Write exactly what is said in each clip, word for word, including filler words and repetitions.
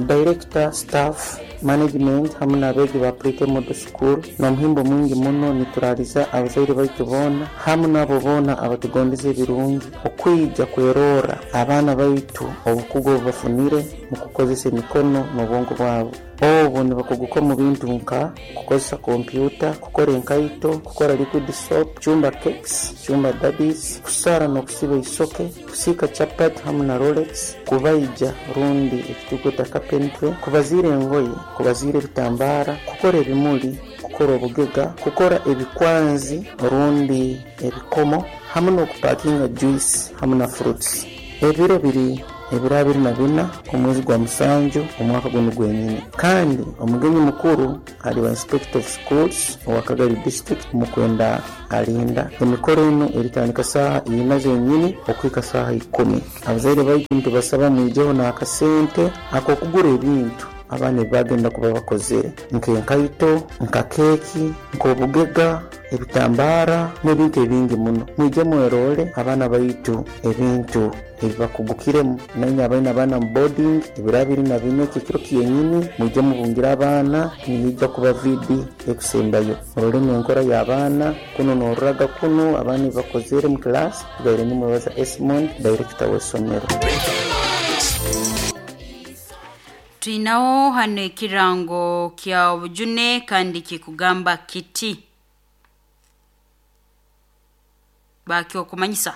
Director, staff, management hamu n'abeegi ba Pre-K Model School n'omuhimbo mwingi muno nituraliza abazaire baitu boona hamu n'abo boona abatugondeza ebirungi okwija kwerorra abaana baitu obukugu obu bafunire mu kukozesa emikono n'obwongo bwabo. Obu nibakuguka omu bintu nka kukozesa kompyuta, kukora enkaito, kukora liquid soap, kucumba cakes, kucumba daddies, kusara n'okusiba isoke, kusiika chapati hamu na rolex, kubaija rundi ekitukweta carpentry, kubaziira engoye, kubaziira ebitambaara, kukora ebimuli, kukora obugega, kukora ebikwanzi rundi ebikomo hamu n'okupakinga juice hamu na fruits. Ebiro biri ebiro abiri na bina omwezi gwa musanju omwaka gunu gwenyini, kandi omugenyi mukuru aliba Inspector of Schools owa Kagadi District, Mukwenda Alinda. Emikoro enu eritandika saaha ina zenyini okuhika saaha ikumi. Abazaire baitu nitubasaba mwijeho n'akasente ak'okugura ebintu abaana ebibagenda kuba bakozere, nk'enkaito, nka keeki, nk'obugega, ebitambaara n'ebintu ebingi muno. Mwije mwerole abaana baitu ebintu ebibakugukiremu. Nainywe abaine abaana mu boarding, ebiro abiri na bina eki ekiro kyenyini mwije mubungire abaana, niija kuba V D ekusembayo. Murole n'enkora y'abaana kunu n'oruraga kunu abaana ebibakozere mu class. Tugaire nimwebaza Esmond, director w'essomero. Twinaho hano ekirango kya obujune kandi kikugamba kiti bakyokumanyisa.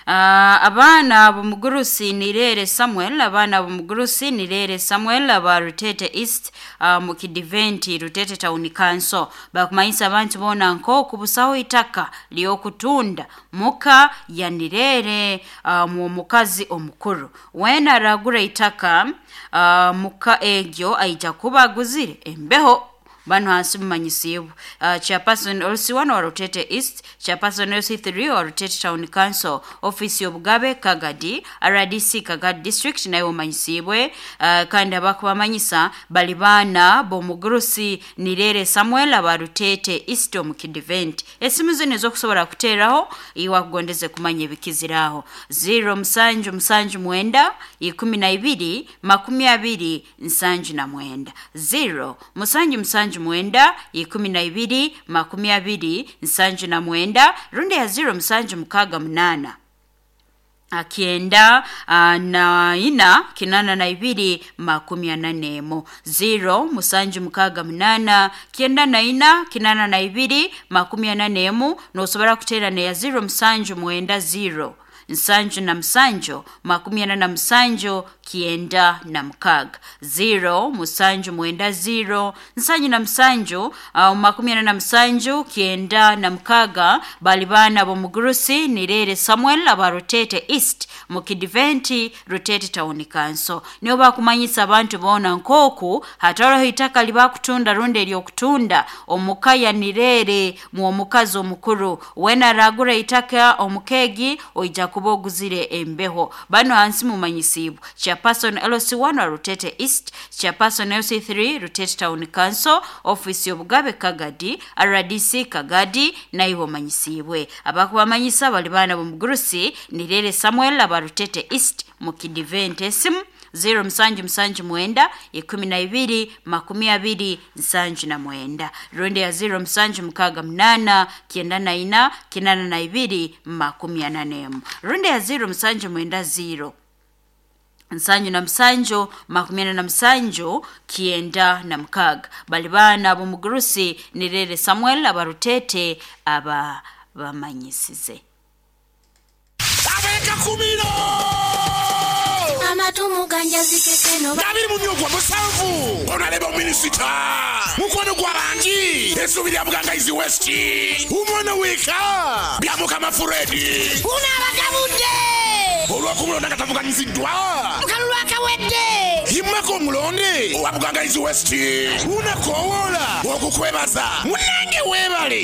Uh, abaana b'omugurusi Nirere Samuel, abaana b'omugurusi Nirere Samuel aba Rutete East, uh, mu Kidiventi Rutete Town Council bakumanyisa abantu boona nk'oku busaho itaka ly'okutunda muka ya Nirere, uh, mu mukazi omukuru wena aragura itaka uh, muka egyo aija kuba aguzire embeho. Bano hansi mumanyisibwe uh, chairperson L C one wa Rutete East, chairperson L C three wa Rutete Town Council, office y'obugabe Kagadi, R D C Kagadi District nayo mumanyisibwe. uh, kandi abakubamanyisa bali baana b'omugurusi Nirere Samuel aba Rutete East omu Kidivent. Esimu zino ezokusobola kuteeraho iwe akugondeze kumanya ebikiziraho: zero musanju musanju mwenda ikumi na ibiri makumi abiri nsanju na mwenda, zero musanju musanju mwenda ikumi na ibiri makumi abiri nsanju na mwenda, rundi ya zero musanju mukaaga munaana kyenda na ina kinana na ibiri makumi ana n'emu, zero musanju mukaaga munaana kyenda na ina kinana na ibiri makumi ana n'emu. Nosobora kuteera neya zero musanju mwenda zero nsanju na musanju makumi ana na musanju kyenda na mukaaga, zero musanju mwenda zero nsanju na musanju uh, makumi ana na musanju kyenda na mukaaga. Bali baana b'omugurusi Nirere Samuel aba Rutete East mu Kidiventi Rutete Town Council nibo bakumanyisa abantu boona nk'oku hatoroho itaka libakutunda rundi eryokutunda omuka ya Nirere mu omukazi omukuru. Wena aragura itaka omukeegi oija kuba oguzire embeho. Bano hansi mumanyisibwe chairperson L C one wa Rutete East, chairperson L C three Rutete Town Council, office y'obugabe Kagadi, R D C Kagadi naiwe omanyisibwe. Abakubamanyisa bali baana b'omugurusi Nirere Samuel aba Rutete East mu Kidivente. Esimu zero musanju musanju mwenda ikumi na ibiri makumi abiri nsanju na mwenda, rundi ya zero musanju mukaaga munaana kyenda na ina kinana na ibiri makumi ana n'emu, rundi ya zero musanju mwenda zero nsanju na musanju makumi ana na musanju kyenda na mukaaga. Bali baana b'omugurusi Nirere Samuel aba Rutete aba bamanyisize. Abekakumiro. Amatumu ganjazikekeno. Abiri mu myogwa musanvu onaleba ominisita mukwano gwa bangi essuubi lya Bugangaizi West, omwana weka Byamukama Furedi. Unaabagabudde. Olw'okumulonda nga tavuganyiziddwa. Mukalulu akawedde. Himmako omulonde owa Bugangaizi West, unakowoola okukwebaza munange weebale.